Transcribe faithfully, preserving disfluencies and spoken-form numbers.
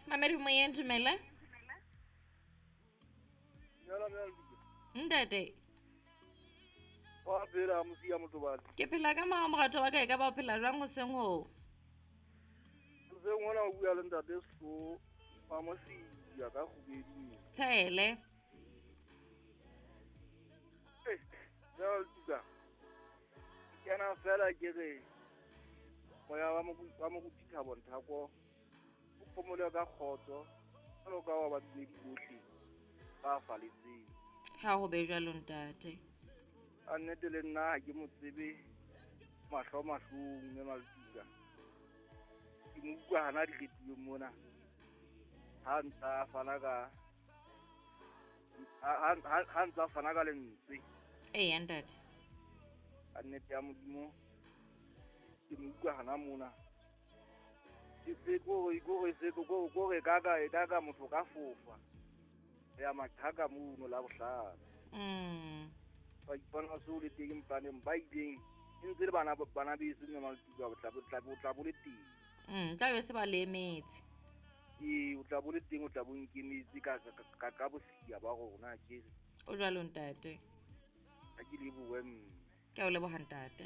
Mamedi moyeng, dumela. Ntate. Wa phela mosia motobane. Ke phela ka mao morato wa ka e ka ba o phela jwang hoseng ho? Hoseng hona o bua le ntate Sefo wa Mosia ka kgubedi. Tshele. Eh, jalo tuka. Ke na fela ke re moya wa moruti wa moruti Thabo Nthako o phomole ka kgotso jwalo ka wa badumedi bohle ba faletseng. Ha ho be jwalo ntate. A nnete le nna ha ke mo tsebe mahlo mahlong mme Maletuka. Ke mo utlwa hana diretileng mona. Ha ntsa fana ka ha ha ha ntsa fana ka lentswe. Eya ntate. A nnete ya Modimo ke mo utlwa hana mona. Ke se kore kore se kore kore ka ka e ka ka motho ka fofa. Ya maqhaka mono la bohlano. Mm. Ba ipona so le teng mpaneng ba ileng e ntse le bana bana beso mme Maletuka o tla bo tla bo tla bo le teng. Mm, tla be se ba le emetse. Ee, o tla bo le teng o tla bo nkemetse ka ka ka bosia ba rona ke. O jwalo ntate. Ha ke lebohe mme. Ke a o leboha ntate.